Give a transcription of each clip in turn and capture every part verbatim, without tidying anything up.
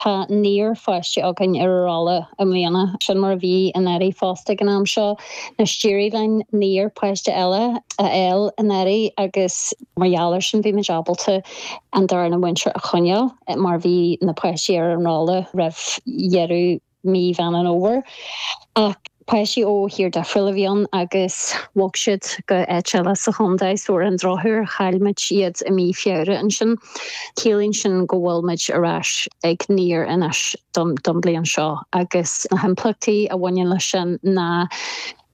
Tá naonúr pháiste againn ar an rolla i mbliana sin mar a bhí anuraidh fosta ag an am seo. Anois d'éirigh linn naonúr páiste eile a fháil anuraidh agus mar gheall air sin bhí muid ábalta an darna múinteoir a choinneáil mar bhí na páistí ar an rolla roimh dheireadh mí Mheán an Fhómhair. Ach páistí ó thír difriúil a bhí ann agus bhog siad go áit eile sa chontae so ar an drochuair chaill muid iad i mí Feabhra ansin. Ciallaíonn sin go bhfuil muid ar ais ag naonúr anois don don bliain seo agus na himpleachtaí a bhaineann leis sin ná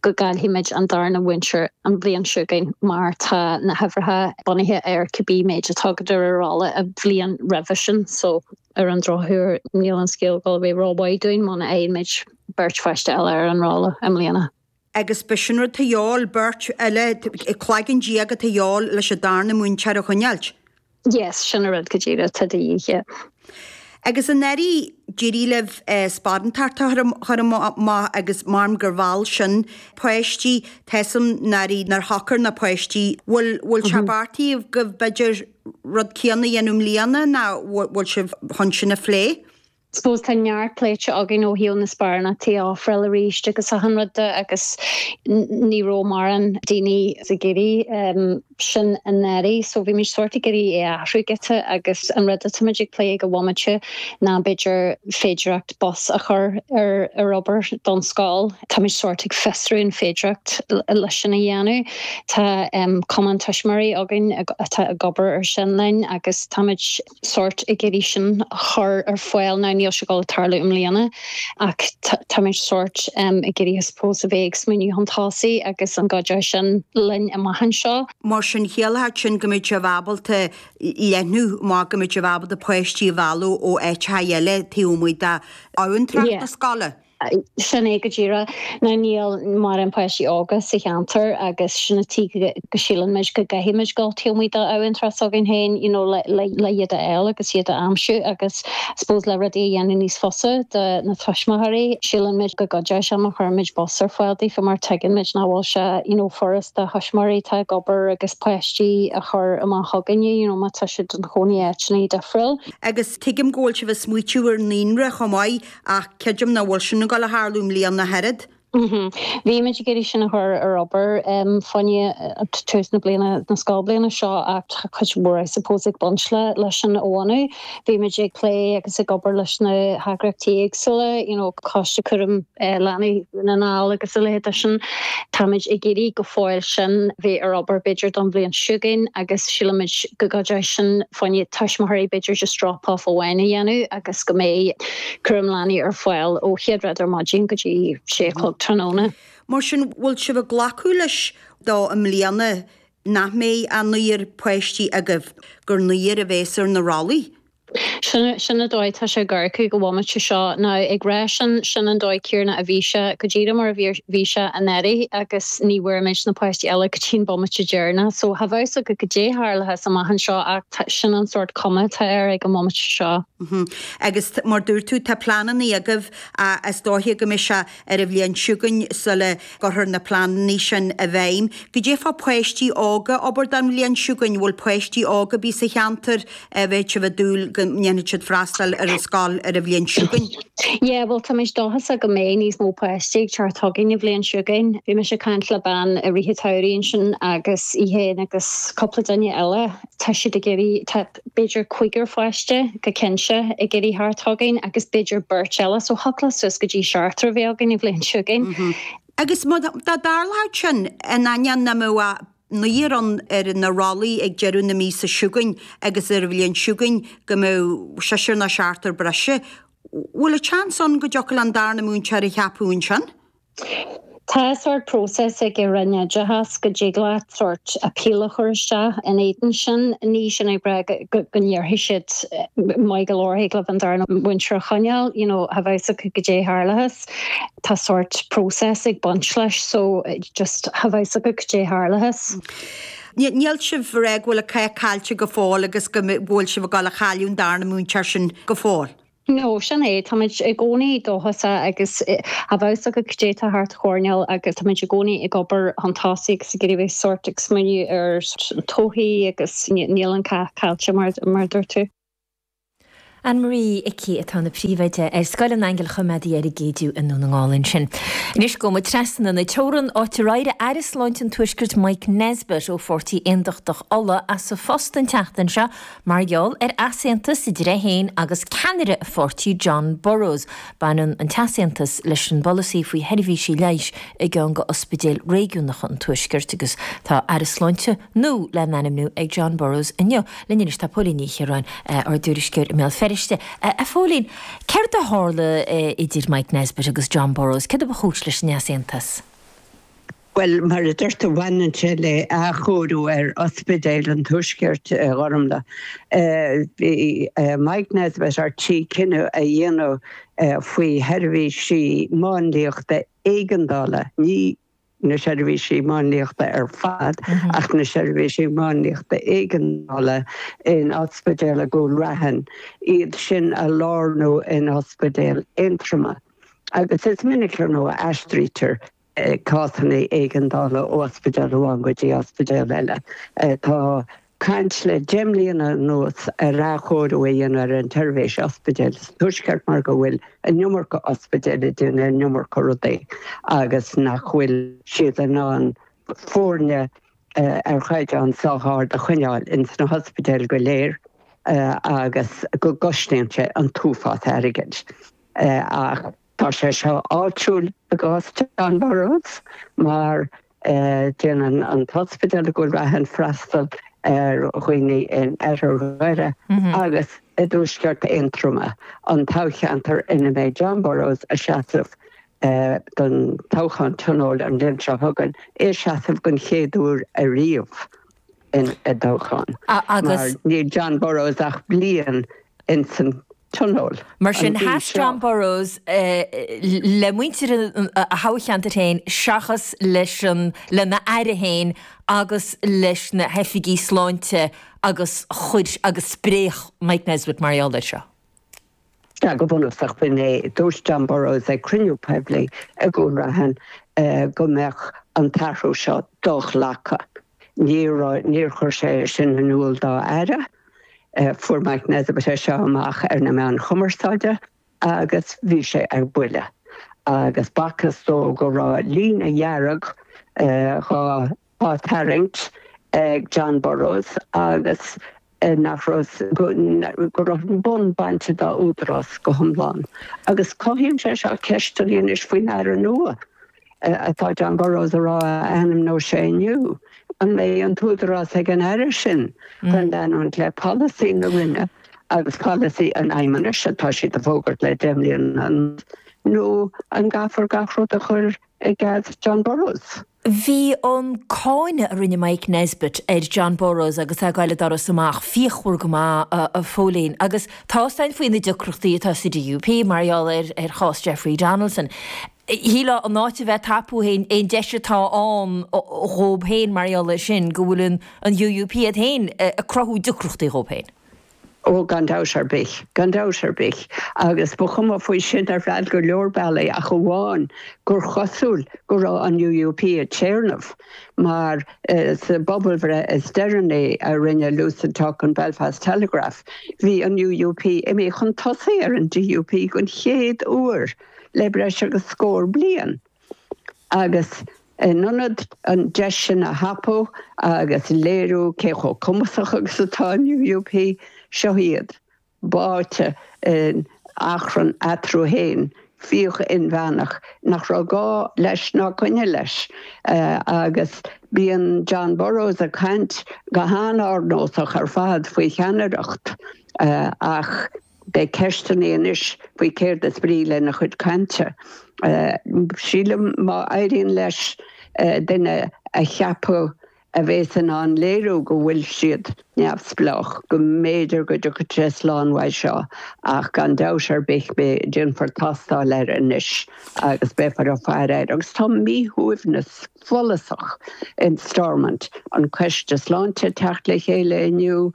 go gcaillfidh muid an darna múinteoir an bhliain seo chugainn mar tá na huimhreacha bunaithe ar cibé méid atá agat ar an rolla an bhliain roimhe sin so ar an drochuair níl an scéal go bheith rómhaith dúinn muna fhaigheann muid beirt pháiste eile ar an rolla i mbliana. Agus b'shin rud atá de dhíobháil beirt eile cloigeann déag atá de dhíobháil leis an darna múinteoir a choinneáilt. Yes, sin an rud go díreach atá de dhíth. Agus anuraidh d'éirigh libh sparántacht a chur amach agus measaim gur mheall sin páistí, tá a fhios agam anuraidh nár shocair na páistí. Bhfuil bhfuil sé beartaithe agaibh b'fhéidir rud céanna a dhéanamh i mbliana nó bhfuil sibh chun sin a phlé? Suppose tá neart pléite againn ó thaobh na sparánachtaí a ofráil arís agus achan rud de agus ní raibh mórán daoine ag iarraidh sin anuraidh so bhí muid sórt ag iarraidh é a athrú giota agus an rud atá muid ag plé ag an bhomaite ná b'fhéidir féidireacht bus a chur ar ar obair don scoil. Tá muid sórt ag fiosrú an féidireacht leis sin a dhéanamh. Tá um, cumann tuismitheoirí againn atá ag obair ar sin linn agus tá muid sórt ag iarraidh sin a chur ar fáil now níl sé ag gabháil tarlú i mbliana ach tá muid sórt um, ag iarraidh suppose a bheith ag smaoineamh chun tosaigh agus an gcuideoidh sin linn amach anseo. Mar sin chiallódh sin go mbeadh sibh ábalta leathnú má go mbeadh sibh ábalta páistí a mhealladh ó áiteacha eile taobh amuigh d'abhantrach na scoile. Sin é go díreach now níl mórán páistí óga sa cheantar agus sin an tuige go síleann muid go gcaithfidh muid dul taobh amuigh d'abhantrach s'againn féin you know, le, le, le iad a fháil agus iad a aimsiú agus suppose le rudaí a dhéanamh níos fusa do na tuismitheoirí síleann muid go gcuideoidh sé má chuireann muid bus ar fáil daofa mar tuigeann muid nach bhfuil sé you know, furast do thuismitheoirí atá ag obair agus páistí a chur amach chugainne you know, má tá siad ina gcónaí áiteanna difriúil. Agus tuigim go bhfuil sibh ag smaoitiú ar naíonra chomh maith ach creidim nach bhfuil sin ag gabháil a tharlú i mbliana ach oiread. Mm-hmm. Bhí muid ag iarraidh sin a chur ar obair um, fá choinne tús na bliana na scoilbhliana seo ach cuid mhór I suppose ag baint le leis sin a bhunú. Bhí muid ag plé agus ag obair leis na heagraíochtaí éagsúla, you know, Coiste Cúram uh, Leanaí na nGall agus a leithéid sin. Táimid ag iarraidh go fóill sin bheith ar obair b'fhéidir don bhliain seo chugainn agus sílimid go gcuideoidh sin fá choinne tuismitheoirí b'fhéidir just drop off amháin a dhéanamh agus go mbeidh cúram leanaí ar fáil ó chéad rud ar maidin go dtí sé chlog tráthnóna. Mar sin bhfuil sibh ag glacadh leis do i mbliana nach mbeidh an naonúr páistí agaibh gur naonúr a bheas ar na rollaí. Sin sin an dóigh tá sé ag amharc go bhomaite seo now ag rá sin sin an dóigh céanna a bhí sé go díreach mar a bhí bhí sé anuraidh agus ní bhfuair muid na páistí eile go dtí an bomaite deireanach so cha bhfios go go dté tharlaithe amach anseo ach sin an sórt cuma atá air ag an bomaite seo. Mm-hmm. Agus mar dúirt tú tá pleananna agaibh is dóiche go mbeidh sé ar an bhliain seo chugainn sula gcuirfear na pleananna sin i bhfeidhm. Goidé fá páistí óga obair don bhliain seo chugainn bhfuil páistí óga bí sa cheantar a bheith sibh ag dúil go ndéanfaidh siad freastal ar an scoil ar an bhliain seo chugainn. Yeah, well tá muid dóchasach go mbeidh níos mó páistí ag teacht chugainn an bhliain seo chugainn. Bhí mise ag caint le bean i rith an tsamhraidh ansin agus í féin agus cúpla duine eile tá siad ag iarraidh tá b'fhéidir cúigear pháiste go cinnte ag iarraidh teacht chugainn agus b'fhéidir beirt eile so thiocfadh suas go dtí seachtar a bheith againn an bhliain seo chugainn. Mm -hmm. Agus dá dtarlódh sin in ainneoin nach mbeadh naonúr ann ar na rollaí ag deireadh na míosa seo chugainn agus ar an bhliain seo chugainn go mbeadh seisear nó seachtar breise. Bhfuil an seans ann go dtiocfadh an darna múinteoir a cheapadh ansin? Tá sórt próiseas ag an Roinn Oideachais go dtig leat sórt appeal a chur isteach in éadan sin ní sin ag rá go ndéarfaidh siad maith go leor thig libh an darna múinteoir a choinneáil, you know, cha bhfios go dté tharlathas. Tá sórt próiseas ag baint leis so just cha bhfios go dté tharlathas. Níl sibh rá go bhfuil an cath caillte go fóill agus go bhfuil sibh ag gabháil a chailleadh an darna múinteoir sin go fóill. No, sin é táimid i gcónaí dóchasach agus cha bhfios go dté tá thart choirneáil agus táimid i gcónaí ag obair chun tosaigh agus ag iarraidh bheith sórt ag smaoineamh ar an todhchaí agus níl an cath caillte mar mar dúirt tú. Anne Marie Icí atá ina príomhoide ar Scoil an Aingil Choimeádaigh ar an gCéidiú i nDún na nGall ansin. Anois gabhfaidh muid trasna na teorann áit ar éirigh Aire Sláinte an Tuaiscirt Mike Nesbitt ó Pháirtí Aontachtach Uladh as a phost an tseachtain seo mar gheall ar easaontas idir é féin agus ceannaire a pháirtí John Burrows. Baineann an t-easaontas leis an bpolasaí faoi sheirbhísí leighis i gceann de ospidéil réigiúnacha an Tuaiscirt agus tá Aire Sláinte nua le hainmniú ag John Burrows inniu. Linn anois tá Póilín Ní Chiaráin ár dtuairisceoir i mBéal Feirste. A Phóilín, céard a tharla idir Mike Nesbitt agus John Burrows, céard a ba chúis leis an easaontas? Well mar a dúirt tú bhaineann sé le athchóiriú ar ospidéal an Tuaiscirt Ghormfhlaith. Bhí Mike Nesbitt ar tí cinneadh a dhéanamh faoi sheirbhísí máinliachta éigeandála ní na seirbhísí máinliachta ar fad ach na seirbhísí máinliachta éigeandála in ospidéal i gCúil Raithin, iad sin a lárnú in ospidéal Aontroma. Agus is minic ar ndóigh a aistrítear cásanna éigeandála ó ospidéal amháin go dtí ospidéal eile. Tá caint le deich mbliana anuas ar athchóiriú a dhéanamh ar an tseirbhís ospidéil sa Tuaisceart mar go bhfuil an iomarca ospidéil ag déanamh an iomarca rudaí agus nach bhfuil siad in ann foirne ar chaighdeán sách ard a choinneáil ins na hospidéil go léir agus go gcosnaíonn sé an t-uafás airgid. Ach tá sé seo áitiúil i gcás John Burrows mar déanann an t-ospidéal i gCúil Raithin freastal ar dhaoine in oirthear Dhoire agus i dtuaisceart Aontroma, an toghcheantar ina mbeidh John Burrows ag seasamh don toghchán tionóil an bhliain seo chugainn, é ag seasamh den chéad uair ariamh i dtoghchán. Mar níl John Burrows ach bliain insan tionól. Mar sin sheas John Burrows le muintir a thoghcheantair féin seachas leis an lena aire féin agus leis na hoifigigh sláinte agus chuir agus spréach Mike Nesbitt mar gheall air seo. Sea, go bunúsach b'in é. Dúirt John Burrows ag cruinniú poiblí i gCúil Raithin go mbeadh an t-athrú seo do-ghlactha. Níor níor chuir sé sin in iúl dá aire. Fuair Mike Nesbitt é seo amach ar na meáin chumarsáide agus bhí sé ar buile. Agus b'fhacthas dó go raibh líne dhearg dhá á tarraingt ag John Burrows agus nach raibh go raibh an bonn bainte dá údarás go hiomlán. Agus cothaíonn sé seo ceisteanna anois faoin aire nua. atá John Burrows a rá a ainmneoidh sé inniu, an mbeidh an t-údarás ag an Aire sin chun leanúint le polasaí na Roinne agus polasaí an Fheidhmeannais atá siad a fhógairt le deich mbliana anuas, nó an gcaithfear gach rud a chur i gcead John Burrows? Bhí an cáineadh a rinne Mike Nesbitt ar John Burrows agus é ag goil an doras amach fíochmhar go maith, a Phóilín, agus tá a fhios againn faoi na deacrachtaí atá sa DUP mar gheall ar ar chás Jeffrey Donaldson. Shílfeá in áit a bheith ag tapú aon deis atá ann dhóibh féin mar gheall air sin, go bhfuil an UUP iad féin ag cruthú deacrachtaí dhóibh féin. Ó, gan dabht ar bith, gan dabht ar bith. Agus ba chuma faoi sin ar feadh go leor bealaí ach amháin gur chosúil go raibh an UUP ag téarnamh mar sa bpobalbhreith is deireanaí a rinne Lucid Talk an Belfast Telegraph, bhí an UUP imithe chun tosaigh ar an DUP den chéad uair. le breis agus scór bliain agus in ionad an deis sin a thapú agus léiriú cé chomh cumasach agus atá an UUP, seo iad báite in achrann eatarthu féin, fíoch inmheánach nach raibh gá leis ná coinne leis. Agus bíonn John Burrows ag caint go han-ardnósach ar fad faoi cheannaireacht ach Beidh ceisteanna anois faoi céard is brí lena chuid cainte. Sílim má éiríonn leis duine a cheapadh a bheas in ann léiriú go bhfuil siad neamhspleách, go mb'fhéidir go dtiocfaidh sé slán uaidh seo ach gan dabht ar bith beidh, déanfar tástáil air anois agus beifear ag faire air. Agus tá míshuaimhneas follasach in Stormont, an Coiste Sláinte ag teacht le chéile inniu,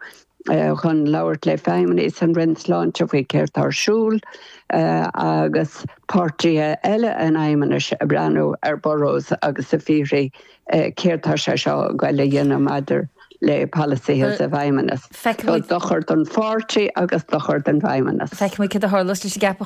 chun labhairt le feidhmeannaigh san Roinn Sláinte faoi céard tá ar siúl agus páirtithe eile an Fheidhmeannais ag breathnú ar Burrows agus ag fiafraí céard tá sé seo ag goil a dhéanamh maidir le polasaithe sa bhFeidhmeannas. Feicfimid dochar don pháirtí agus dochar don bhFeidhmeannas. Feicfimid cad a tharlós leis an gceapachán.